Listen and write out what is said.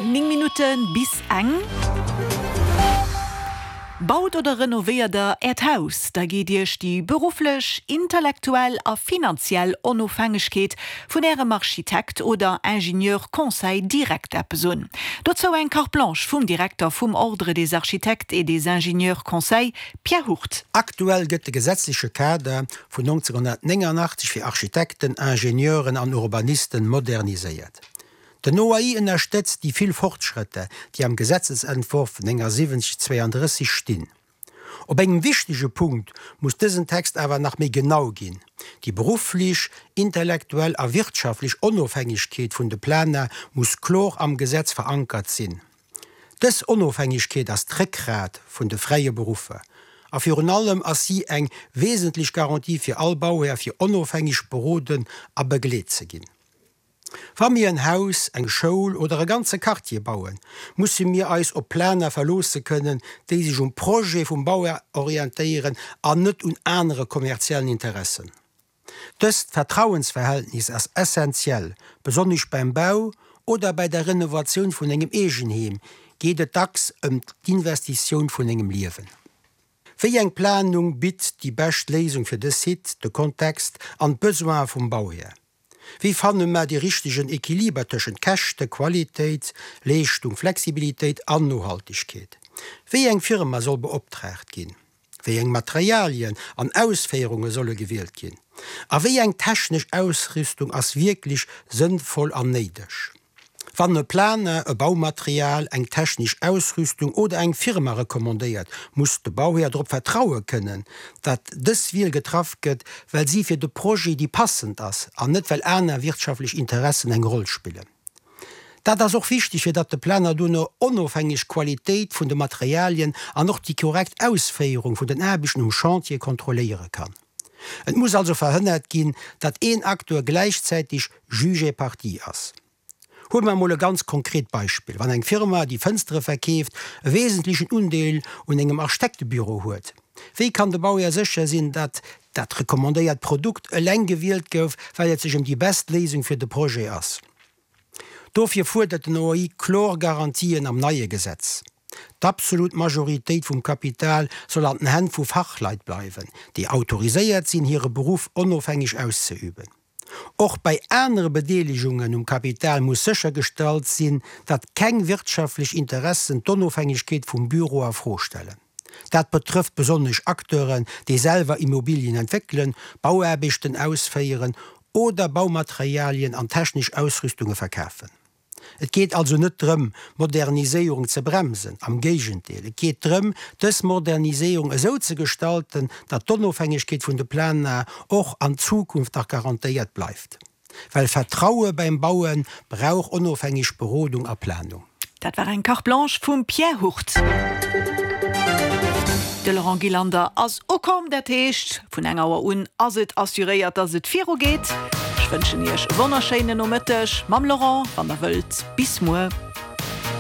9 Minutte bis eng. Baut oder renovéiert der Äert Haus, da geet Iech déi berufflech, intellektuell a finanziell Onofhängegkeet vun Ärem Architekt oder Ingenieur Conseil direkt eppes un. Dozou eng Carte blanche vum Direkter vum Ordre des architectes et des ingénieurs conseils, Pierre Hurt. Aktuell gëtt de gesetzleche Kader vun 1989 fir Architekten, Ingenieuren an Urbanisten moderniséiert. Den OAI ënnerstëtzt déi vill Fortschrëtter, déi am Gesetzesentworf 79 32 stinn. Op engem wichtege Punkt muss dësen Text awer nach méi genau ginn, Déi berufflech, intellektuell a wirtschaftlech Onofhängegkeet vun de Planer muss klor am Gesetz verankert sinn. Dës Onofhängegkeet ass d'Réckgrat vun de fräie Beruffer a virun allem ass si eng wesentlech Garantie fir all Bauhär fir onofhängeg beroden a begleet ze ginn. Wa mir en Haus, eng Schoul oder e ganze Quartier bauen, musse mir eis op Planer verloosse kënnen, déi sech um Projet vum Bauhär orientéieren an net un anere kommerziellen Interessen. Dëst Vertrauensverhältnis ass essenziell, besonnesch beim Bau oder bei der Renovatioun vun engem Eegenheem geet et dacks ëm d'Investitioun vun engem Liewen. Wéi eng Planung bitt déi bescht Léisung fir de Site, de Kontext an d'Besoine vum Bauhär? Wéi fanne mer dee richtegen Equiliber tëschent Käschte, Qualitéit, Leeschtung, Flexibilitéit an Nohaltegkeet? Wéi eng Firma soll beoptraagt ginn? Wéi eng Materialien an Ausféierunge solle gewielt ginn? A wéi eng technesch Ausrüstung ass wierklech sënnvoll an néideg? Wann e Planer e Baumaterial, eng technesch Ausrüstung oder eng Firma recommandéiert, muss de Bauhär drop vertraue kënnen, datt dës Wiel getraff gëtt, well si fir de Projet déi passend ass an net well aner wirtschaftlech Interessen eng Roll spillen. Dat ass och wichteg, fir datt de Planer dono onofhängeg d'Qualitéit vun de Materialien an och déi korrekt Ausféierung vun den Aarbechten um Chantier kontrolléiere kann. Et muss also verhënnert ginn, datt een Acteur gläichzäiteg Juge et partie ass. Huele mer emol e ganz konkret Beispill, Wann eng Firma, déi Fënstere verkeeft, e wesentlechen Undeel un engem Architektebüro huet, wéi kann de Bauhär sécher sinn, datt dat recommandéiert Produkt eleng gewielt gouf, well et sech ëm déi best Léisung fir de Projet ass? Dofir fuerdert den OI kloer Garantien am neie Gesetz. D'absolut Majoritéit vum Kapital soll an den Hänn vu Fachleit bleiwen, déi autoriséiert sinn, hire Beruff onofhängeg auszeüben. Och bei anere Bedeelegungen um Kapital muss séchergestallt sinn, datt keng wirtschaftlech Interessen d'Onofhängegkeet vum Büro a Fro stellen. Dat betrëfft besonnesch Acteuren, déi selwer Immobilien entwéckelen, Bauaarbechten ausféieren oder Baumaterialien an technesch Ausrüstunge verkafen. Et geet also net drëm, d'Moderniséierung ze bremsen, am Géigendeel, et geet drëm, dës Moderniséierung esou ze gestalten, datt d'Onofhängegkeet vun de Planer och an Zukunft nach garantéiert bleift. Well Vertraue beim Baue brauch onofhängeg Berodung a Planung. Dat war eng Carte blanche vum Pierre Hurt. De Laurent Gillander ass ukomm, dat heescht vun eng Auer un ass et assuréiert, dass et viru geet. Ech wënschen Iech e wonnerschéinen Nomëtteg mam Laurent, wann der wëllt. Bis muer.